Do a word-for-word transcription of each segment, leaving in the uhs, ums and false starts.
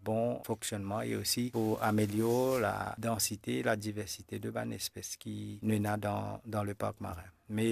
bon fonksionnman e osi pou amelior la dansite, la diversite de bann espes ki nou ena dan, dan le park marin. Me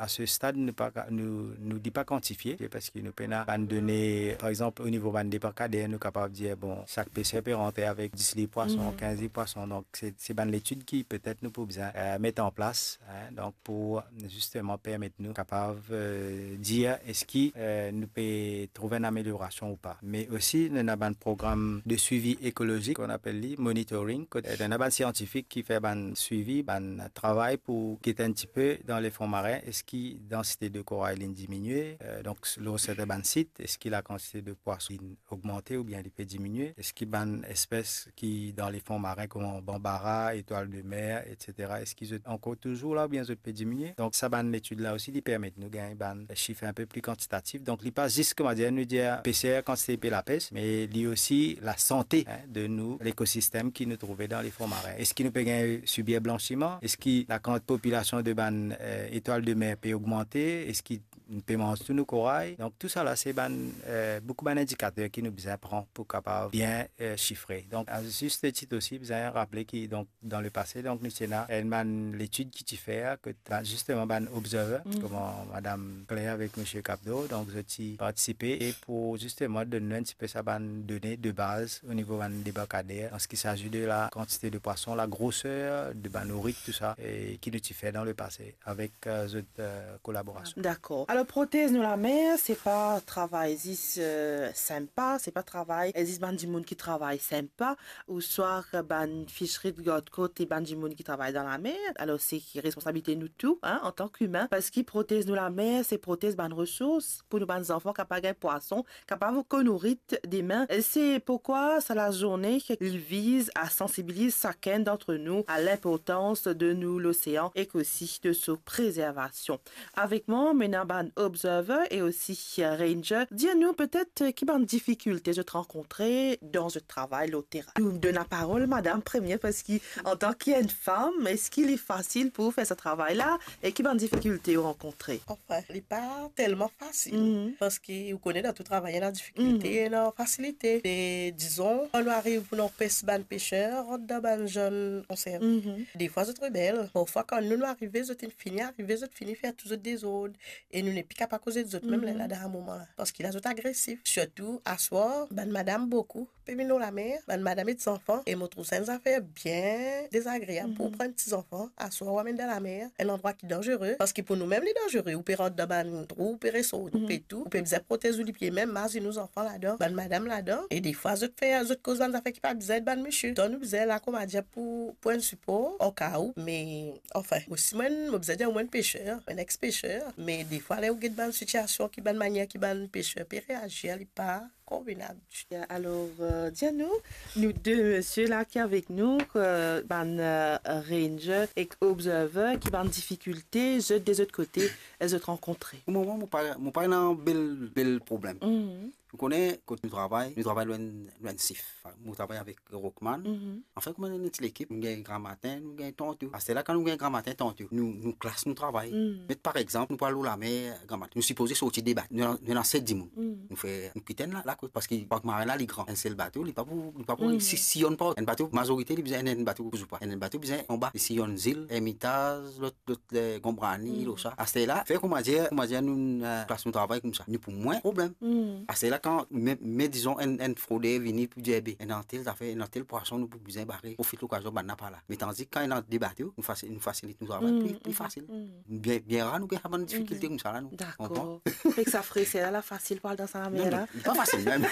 a se stad, nou pa ka, nou, nou li pa kantifie, parski nou pena bann done, par exanp, o nivo bann debarkader, nou kapav dir, bon, sak peser pe rant avek dis lib pwason, Mhm. kinz lib pwason. Donk, se, se bann letid ki petet nou pou bizin, eh, met an plas, hein, donk pou zisteman permet nou kapav, eh, dir eski, eh, nou pe trouv enn ameliorasion ou pa. Me osi, nou ena bann program de swivi ekolozik, on apel li monitoring, kot, eh, nou ena bann siantifik ki fer bann swivi, bann travay pou get enn tipe dan lefon marin, eski dansite de koray li'nn diminie, eh, donk, lor sertin bann sit, eski lakantite de pwason li'nn ogmante oubien li pe diminie, eski bann espes ki dan lefon marin, kouma banbara, etwal de mer, etsetera, eski zot ankor touzour la oubien zot pe diminie? Donk, sa bann letid la osi, li permet nou gagn bann sif inpe pli kantitatif. Donk, li pa zis, kouma dir, nou dir peser kantite li pe lapes, me li osi lasante, hein, de nou lekosistem ki nou trouve dan lefon marin. Eski nou pe gagn sibir blansiman? Eski lakant popilasion de bann, eh, etwal de mer pe ogmante? Eski nou pe manz tou nou koray? Donk, tou sa la, se bann, eh, boukou bann indikater ki nou bizin pran pou kapav bien, eh, sifre. Donk, a zis tit osi, bizin raple ki, donk, dan lepase, donk, nou ti ena enn bann letid ki ti fer, kot, ba, zisteman, bann observer, Mhm. kouma Madam Claire avek Misie Capdeau, donk, zot ti partisipe, e pou zisteman donn nou enn tipe sa bann done de baz o nivo bann debarkader, an se ki sazi de lakantite de pwason, lagroser de bann nourit, tou sa, e ki nou ti fer dan lepase avek, eh, zot, eh, kolaborasion. Dakor. Alor, protez nou lamer, se pa travay zis, eh, sinpa, se pa travay, eh, zis bann dimoun ki travay sinpa, ouswa bann fishery de gard kot e bann dimoun ki travay dan lamer. Alor, se ki responsabilite nou tou, hein, antan ki imin, parski protez nou lamer, se protez bann resours pou nou bann zanfan kapav gagn pwason, kapav konourit demin. Se pourkwa sa lazourne, li viz a sansibiliz sakenn d'antre nou a linportans de nou losean ek osi de so prezervasion. Avek mwa, mo ena bann observer e osi ranger. Dir nou petet ki bann difikilte zot rankontre dan zot travay lor terin. Nou donn laparol madam premie, parski antan ki enn fam, eski li fasil pou fer sa travay la? E ki bann difikilte ou rankontre? Anfin, li pa telman fasil, Mhm. parski ou kone dan tou travay, ena difikilte, Mhm. ena fasilite. E dizon, kan nou ariv pou nou anpes bann peser rant dan bann zone konserne, Mhm. defwa zot rebel. Parfwa, kan nou, nou arive, zot inn fini arive, zot fini fer tou zot dezord. E nou nepli kapav koze de zot mem, Mhm. lerla dan moman la. Parski la, zot agresif. Sirtou aswar, bann madam boukou pe vinn lor lamer, bann madam ek zanfan, e mo trouv sa enn zafer bien dezagreab pou Mhm. pran ti zanfan aswar ou amenn dan lamer, enn landrwa ki danzere, parski pou nou mem li danzere, ou pe rant dan bann trou, ou pe resort, ou Mhm. pe tou, ou pe bizin protez ou lipie mem, mazinn ou zanfan ladan, bann madam ladan, e defwa zot fer, zot koz bann zafer ki pa bizin ed bann misie. Donk nou bizin la, koumadir, pou, pou enn sipor, o ka ou, me, anfin, mo si mwa enn, mo bizin dir mwa enn peser, enn ex-peser, me defwa ler ou get bann sitiasion ki, bann manier ki bann peser pe reazir, li pa konvenab. Ya, alor, eh, dir nou, nou de misie la ki avek nou, eh, bann, eh, ranger ek observer, ki bann difikilte zot de zot kote, eh, zot rankontre? Pou moman, mo pa, mo pa ena bel, bel problem. Mhm. Ou kone, kot nou travay, nou travay lor enn, lor enn sif. Mo travay avek Rockman. Mhm. Anfin, kouma nou enn ti lekip, nou gagn gramatin, nou gagn tanto. Aster la, kan nou gagn gramatin, tanto, nou, nou klas nou travay. Mhm. Met par exanp, nou pou al lor lamer gramatin. Nou sipoze sorti de bato. Nou, nou ena set dimoun. Mhm. Nou fer, nou kit enn la, lakot, parski park marin la, li gran. Enn sel bato, li pa pou, li pa pou Mhm. si, siyonn pa. Enn bato, mazorite, li bizin enn, enn bato pou zoupa. Enn, enn bato bizin anba, li siyonn Zil, Ermitaz, lot, lot, eh, Gonbrani, Mhm. lor sa. Aster la, fer koumadir, koumadir nou, eh, plas nou travay koumsa. Nou pou mwin problem. Mhm. Aster la, kan, me, me dizon, enn, enn froder vini pou dir, "Be, ena tel zafer, ena tel pwason, nou pou bizin bare, profit lokazion, bann la pa la." Me tandis kan ena de bato, nou fasi-, nou fasilit nou travay, Mhm, pli, pli mhm, fasil. Mhm. Bien, bien rar nou gagn sa bann difikilte Mhm. koumsa la, nou. Dakor. Konpran? Fek sa freser la, la fasil pou al dan sa lamer la. Non, non, li pa fasil mem.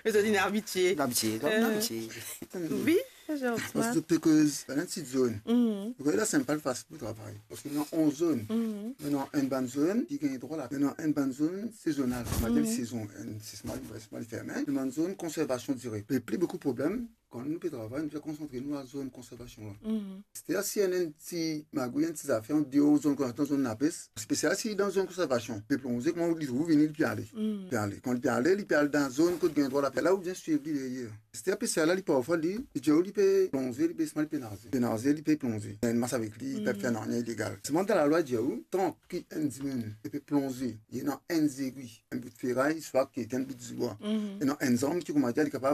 Me zot inn abitie. Abitie, donk, Euh, abitie. Oui, Jean-Ousmane. Parski zot pe koz bann ti zone. Mhm. Zot koz la, se pa fasil pou travay. Parski nou ena onz zone. Mhm. Nou ena enn bann zone ki gagn drwa la. Nou ena enn bann zone sezonal. Sa vedir Mhm. sezon, enn, se sezonal, sezonal ferme. Nou ena enn zone konservasion dire. Pe pli boukou problem, kan nou pe travay, nou pe konsantre nou lor zone konservasion la. Mhm. Setadir si ena enn ti magouy, enn ti zafer andeor zone konservasion, zone lapes, spesial si dan zone konservasion, pe plonze, kouma li trouv vini, li pe ale. Mhm. Pe ale. Kan li pe ale, li pe al dan zone kot gagn drwa lapes. La ou bizin swiv li deryer. Setadir peser la, li parfwa, li, li dir ou li pe plonze, li pe smal, li pe naze. Pe naze, li pe plonze. Li ena enn mas avek li, li pe Mhm. fer nanye ilegal. Selman dan lalwa, dir ou, tan ki enn dimoun, li pe plonze, li ena enn zegwi, enn bout feray, swa ki enn bout zwa, Mhm. ena enn zarm ki, koumadir, li kapav